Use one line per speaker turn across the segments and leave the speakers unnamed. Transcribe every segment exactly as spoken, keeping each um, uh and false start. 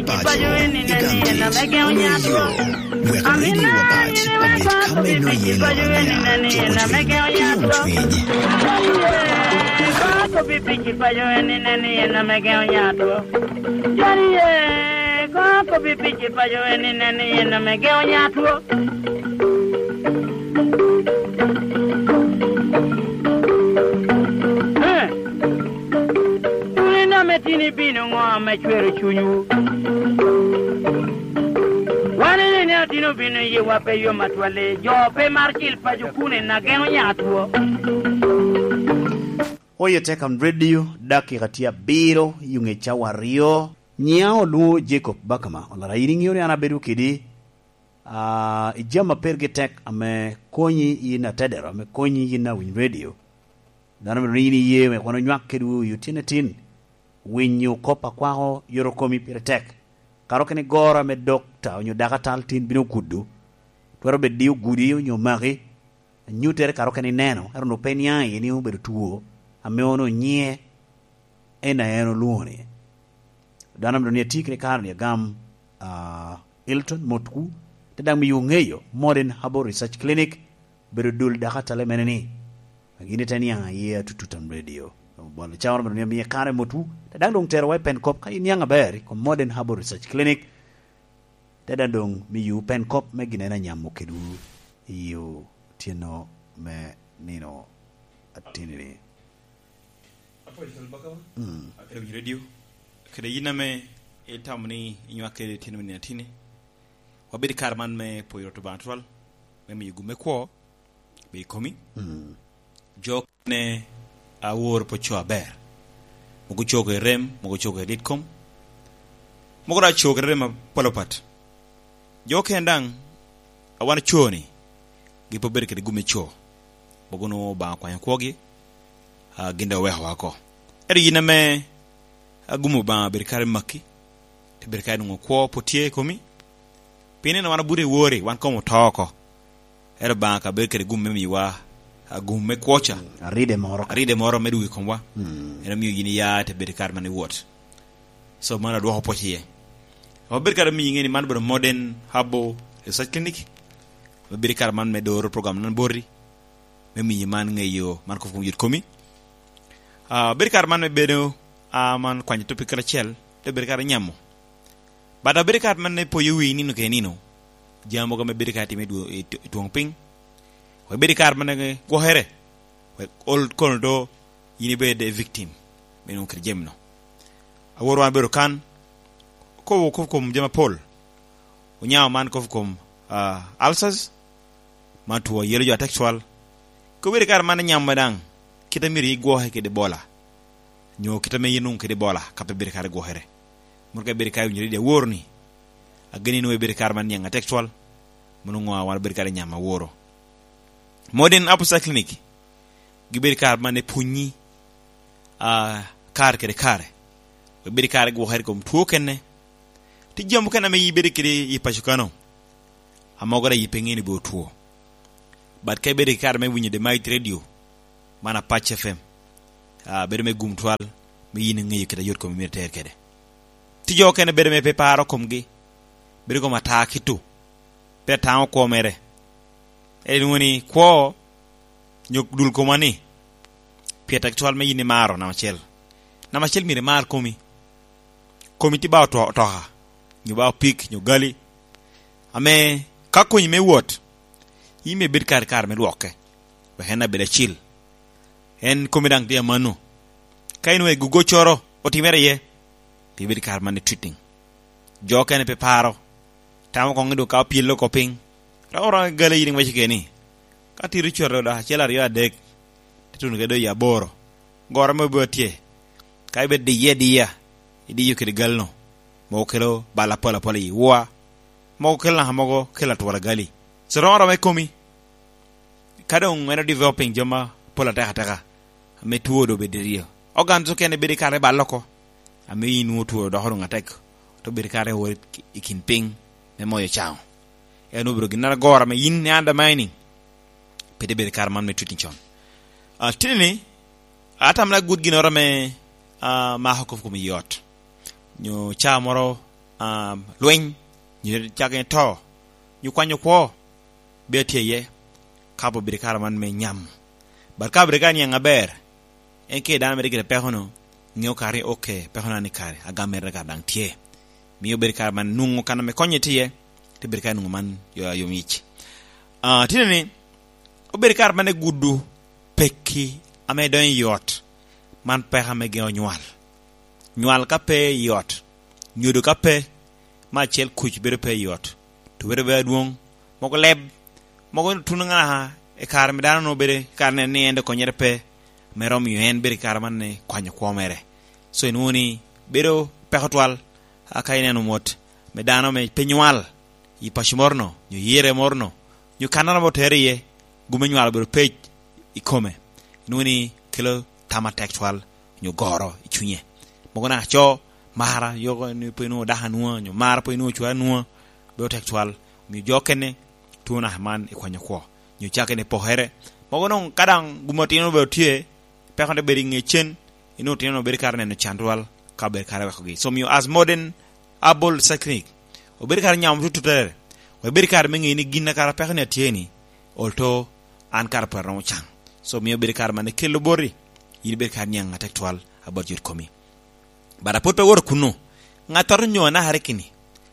paco, i gang tic, onyo i yo. Wek radio Apac obed ka ma inongo iye lok angeya, cuko cwiny ki yomcwiny.
Oye Tekam Radio, dakika tye abiro i nge cawa aryo. Nyinga olwongo Jacob Bakama olara in ingeo ni an abedo kedi uh, i jami ma pergi tek ame konyi in atedero ame konyi in awiny radio dano bedo ni in iye wek wan onywak kedwu i otyeno tin winyo kop akwako yoto komi pire tek kare okene goro ame dokta onyo dakatal tin bino kudu twero bedo di ogudi onyo maki anyutere kare okene ineno ento onongo pe niang iye ni obedo two ame ono nyie en aye en olwongo ni dano bedo ni atye kede kare ni agam uh, Hilton Motku te dang miyo ngeyo Modern Herbal Research Clinic bedo dul dakatale mene ni gin ite niang iye atututam radio bolo cawa bedo ni amiye kare motwu te dang dong tero wa i pen kop ka in niang aber i kom Modern Herbal Research Clinic te dang dong miyo pen kop me gin en anyamo kedwu iyo otyeno me nino atinini
Apoyo twal Bakama kede winyo radio kede yin ame itamo ni inywak kede tyeno me nino atini wabed i kare man me poyo Rwot Obanga twal me miyo gum me kwo be i komi jo ne awor po co aber mogo co kede rem mogo co kede dit kom mogo dok co kede rem mapol apat jo okene dang awan co ni gipe obedo kede gum me co mogo nongo Obanga okwanyo kwogi uh, gin dong oweko woko ento yin ame gum Obanga obedo kare maki te bedo kare nongo kwo po tye i komi pien nino wan obuto i wori wan kom oto oko ento Obanga ka bedo kede gum me miyowa gum me kwo ca
aride moro
aride moro me dugo i komwa en omiyo yin iya te bedo kare man iwot so man adwoko pwoc iye wabedo kare miyi nge ni man obedo Modern Herbal Research Clinic wabedo kare man me doro program nan boti me miyi man ngeyo man kof kom yot komi uh, bedo kare man me bedo uh, man kwanyo topic kala acel te bedo kare nyamo but abedo kare man me poyo wi nino kede nino jami mogo me bedo kare time i twong piny wek bedo kare man gwokere wek ol kono do in ibed a victim me nongo kede jami no awor wan bedo kan kobo kof kom jami mapol onyamo man kof kom uh, ulcers man two yelo jo atek twal ko bedo kare man nyamo dang kita myero igwoke kede Ebola nyo kita me inong kede Ebola ka pe bedo kare gwokere mun ka bedo kare winyo radio awor ni ageni ni bedo kare man niang atek twal mun ngo wan bedo kare nyamo aworo Modern Herbal Research Clinic gibedo kare man e punyi uh, kare kede kare we bedo kare gwokere kom two kene ti jami mukene ame ibedo kede i paco kano amogo da yipe ngeni bo two but ka ibedo ki kare me winyo The Mighty Radio man Apac F M uh, bedo me gum twal me yin ngeyo kite yot komi myero iter kede ti jo okene bedo me pe paro komgi bedo kom ata kitu pe atango kwo mere e nongo ni kwo nyo dul komwa ni pye tek twal me yin imaro namba acel namba acel myero imar komi komi ti ba otoka nyo ba opik nyo gali ame ka konyi me wot in me bed kare kare me lwokke wek en abed acil en komi dang tye amano ka in wek gugo coro otimere iye pi bedo kare man treating jo okene pe paro tamo kong ni ka opyelo ko piny romo romo gali in ngweci keni ka tiro coro dok acel aryo adek te tuno kede i aboro goro mo bo tye ka ibed diye diya idiyo kede gal no mogo kelo bal apol apol i wua mogo kelo naka mogo kelo atwora gali so romo romo i komi ka dong en developing jo ma pol ateka ateka ame two do bedo riyo organs okene bedo kare bal oko ame in nwo two doko dong atek to bedo kare wor i kin piny me moyo cango en obedo gin agora me in ni undermining pede bedo kare man me treating con uh, tinini atam na good ginoro me uh, mako kof kom i ot nyo ca moro um lweny nyo cake to nyo kwanyo kwo be tye iye ka bo bedo kare man me nyamo bar ka bedo ka niang aber en ke dano mere kede peko no ng'eyo kare okay peko na ni kare agamere ka dang tye miyo bedo kare man nungo kana me konye tye te bedo ka nungo man yo yom ich ah tine ni obedo kare man e gudu peki ame donyo yot man peka me gengo nywal nywal ka pe yot nyodo ka pe ma achiel kuc bedo pe yot to bedo be adwong moko leb moko tun ng'a e kare me dano no bede kare ne ni ende konyere pe mero miyo en bedo kare man ne kwanyo kwo mere so inwongo ni bedo peko twal aka ineno mot me dano me pe nywal i paco moro no nyo yire moro no nyo kanano bo tere iye gume nywal obedo pec i kome inwongo ni kelo tama tek twal nyo goro i cwinye moko na co mara yoko ni pe inwongo dako anwonga nyo mara pe inwongo cwara anwonga bedo tek twal miyo jo kene tuo na man i kwanyo kwo nyo cake ne pokere moko nong kadang gumo tino obedo tye peko ne bedo i nge cen inwongo tino no bedo kare neno can twal ka bedo kare wekogi so miyo as modern herbal research clinic obedo kare nyamo tututere obedo kare me ng'eyo ni gin na kara peko ni atye ni olto an kare pe romo cang so miyo bedo kare mane kelo boti in bedo kare niang atek twal about yot komi but apod pe woto kuno ng'ato nyo na hare kini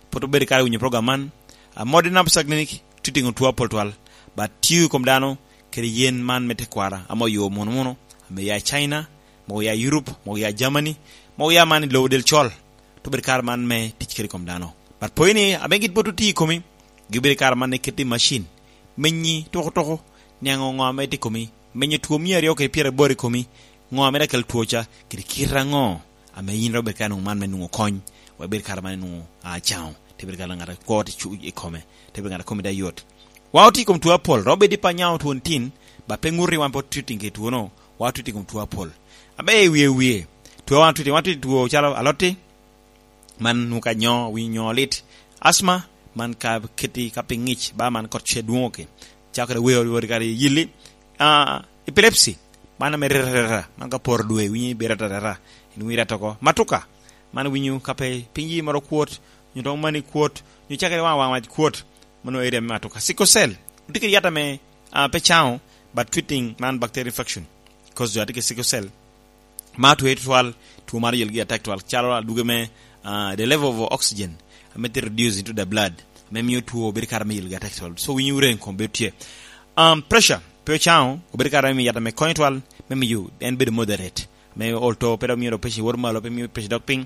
pod obedo kare winyo program man a modern herbal research clinic treating tuo pol twal but tiyo kom dano kede yen man me tekwara amo yo muno muno ame ya China mo ya Europe mo ya Germany mo ya man lowo del chol to bedo kare man me tic kede kom dano but poini ame git botu ti komi gibedo kare man ne keti machine menyi tuko tuko niango ngo ame ti komi menyo tuo mia ariyo kede piero aboro i komi ngo ame da kel tuo cha kede kirango ame in ro bedo kare man me nungo kony wa bedo kare man nungo a chao te bedo kare ngata kwo ti chu i kome te bedo ngata komi da yot wa oti kom tuo apol ro bedi pa nyao tuo tin ba pe nguri wan pot treating ke tuo no wa treating kom tuo apol abe wiye wiye tuo wan treating wan treating tuo chalo aloti man nuka nyo wi nyo lit asthma man ka keti ka pingich ba man kot che duongo ke chakre we ori kare yili ah epilepsy man me rera man ka por dwe wi berata rera ni wi ratoko matuka man winyu ka pe pinji moro kuot nyo to mani kuot nyo chakre wa wa kuot mano area me matuka sickle cell utikiri yata me uh, pe chao but treating man bacterial infection because you are sickle cell ma to twal tuo mar yelgi attack twal chalo aduge me uh, the level of oxygen ame reduce into the blood me miyo tuo bedo kare me yelgi attack twal so winyu ren kom betie um pressure pe chao obedo kare me yata me konyo twal me miyo en bedo moderate me olto pero miyo pressure wor malo pe miyo pressure dok piny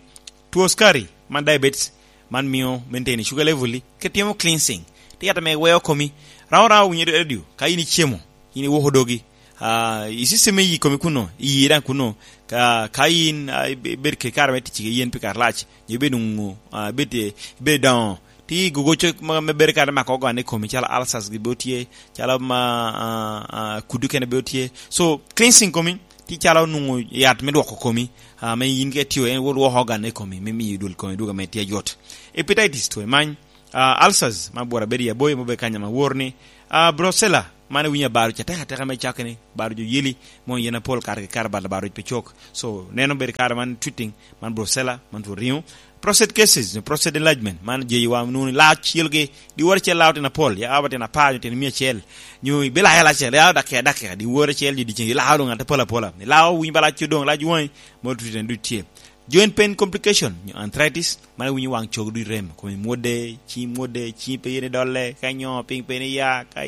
tuo skari man diabetes man miyo maintain sugar level ke timo cleansing ti yata me weyo komi raw raw winyo radio ka ini chiemo ini wuoho dogi uh, isiseme yi komi kuno iyi ran kuno ka ka in uh, ber ke kar me tich yen pi kar lach nyo bedo ngu uh, bete be down ti gogo chok ma me ber kar ma ko gane komi chala ulcers gi botie chala ma uh, uh, kudu kene botie so cleansing komi ti chala nungu yat me dwoko komi uh, me yin ke tiyo en wo ho gane komi me mi dul komi duga me tie yot hepatitis to man uh, ulcers ma bora bedi ya boy mo be kanya ma worni uh, brucella mane winya baru cha teka teka me chakni baru jo yeli mo yena pol kar kar bar baru pe chok so neno ber kar man treating man brucella man to riu prostate cases no prostate enlargement man je wa nuni la chilge di wor che lawte na pol ya abate na pa ten mi chel nyu be la la chel ya da ke da ke di wor chel di di la do ngata pola pola la win bala chudong la juin mo treating du tie joint pain complication arthritis man winyi wang chok du rem ko mode chi mode chi pe yene dolle ka nyo ping pe ne ya ka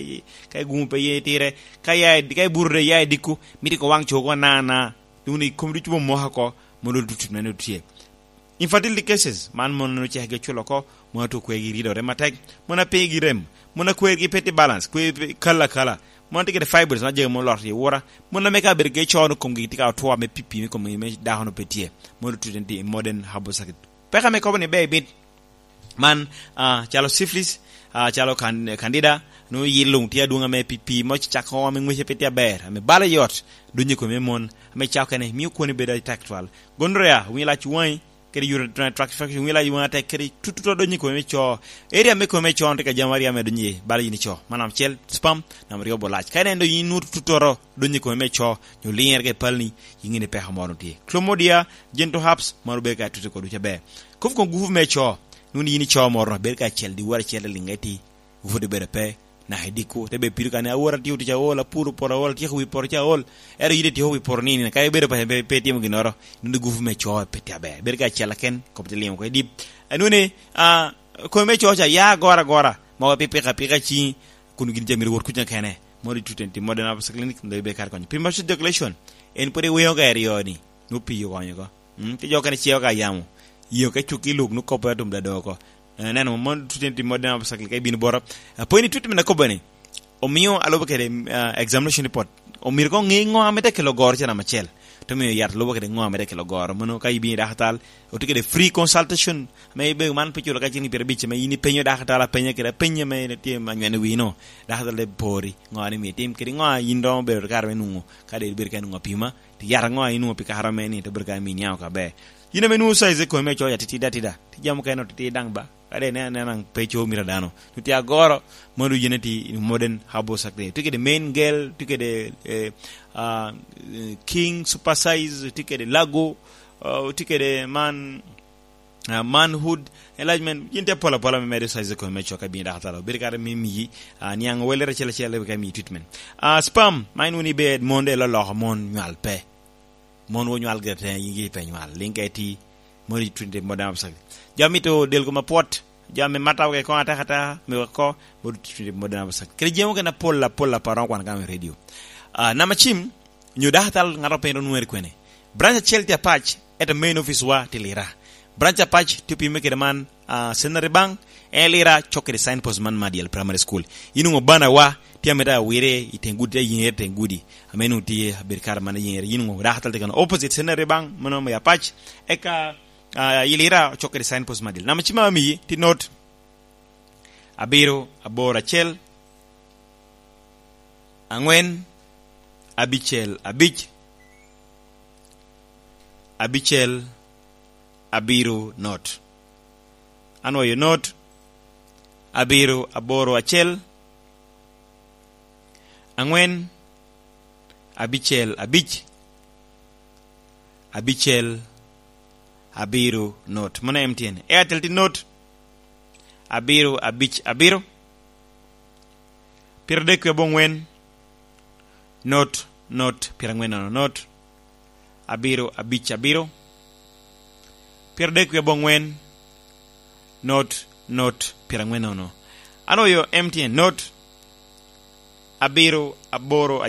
ka gum pe ye tire ka ya ka burre ya diku miti ko wang chok na na duni kom du chubo mo ha ko mo do tut men tie infertility cases man mon no che ge chulo ko mo to ko gi rido rematek mo na pe gi rem mo na kwer gi peti balance kwe kala kala mo na tikete fibers na je mo lor ye wora mo na meka ber ge chono kom gi tika to me pipi me kom me da hono petie mo to tenti modern herbal circuit peka me ko ne be bit man uh, chalo syphilis uh, chalo kan, candida no yilung tia dunga me pipi mo chako me ngwe petia ber me bala yot dunyi ko me mon me chako ne mi ko ne be da tactual gonorrhea wi la chuai kere urinary tract infection wila yuwa te kere tututo donyi ko me cho area me ko me cho te ka jamari ame donyi bala yini cho manam chel spam nam riobo lach ka nendo yinu tutoro donyi ko me cho nyo lier ke palni yingine pe ha mono tie chlamydia gento herpes marube ka tutu ko du chabe kof ko gufu me cho Nuni yini cho moro ber ka chel di wara chel lingeti vude bere pe na hediku tebe piru kane awora tiyo ticha ola puro pora ola tiyo wi pora cha ol ero yide tiyo wi pora nini ka bere pa pe pe timo ginoro nuni gufu me cho pe tia be ber ka chel ken kopte liam ko dip nuni a ko me cho cha ya gora gora ma pe pe ka pe ka chi kunu gin jamir wor kunya kene mori tutenti modern Africa clinic ndo be kar konyo premature ejaculation en pore weyo ga erioni no piyo konyo ko ti jo kane chieo ka yamo yo ka chuki luk nu kopo atum da doko neno mon tutenti modern Africa clinic ay bin bora poini treatment na kobani omiyo alobo kede examination report omir ko ngi ngo amete kelo gor chana machel to miyo yat lobo kede ngo amete kelo gor mono ka ibi daktal otikede free consultation me be man pichulo ka chini pier bich me ini penyo daktal penya kede penya me ne tie manywene wino daktal le pori ngo ani mi tim kede ngo indo be kar me nungo kade ber ka nungo pima ti yar ngo inu pi ka harame ni to ber ka mi nyao ka be yine menu size ko me choya titida tida ti jamu keno titi dang ba kade ne ne nang pecho mira dano tuti agoro modu yeneti modern habo sakre tike de main girl tike de eh, uh, king super size tike de lago uh, tike de man uh, manhood enlargement yinte pola pola me mere size ko me choka bi da talo bir kare mi mi uh, niang welere chele chele ka mi treatment uh, spam main uni be monde lo lo mon nyal pe mon wo nyal gerte yingi pe nyal linketi mori twinde modern sak jami to del ko ma pot jami mataw ke ko ata kata mi ko mori twinde modern sak kre jemo kana pola pola paron kwan kam radio uh, na machim nyu dahtal ngaro pe no nuer kwene branch chelti apach at main office wa tilira branch apach tipi meke man uh, senare bank elira chokere signpost man madiel primary school inungo bana wa tiameta wire itengudi yinere tengudi amenu tie berkar man yinere inungo dahtal tekano opposite senare bank mono ya apach eka uh, ilira chokere signpost madiel na machima mi ti note abiro abora chel angwen abichel abich abichel abiro not anwayo not abiro aboro achiel ang'wen abichel abich abichel abiro not mano M T N Airtel ti not abiro abich abiro piero adek wi abong'wen not not piero ang'wen nono not abiro abich abiro piero adek wi abong'wen not not piero ang'wen nono anwayo M T N not abiro aboro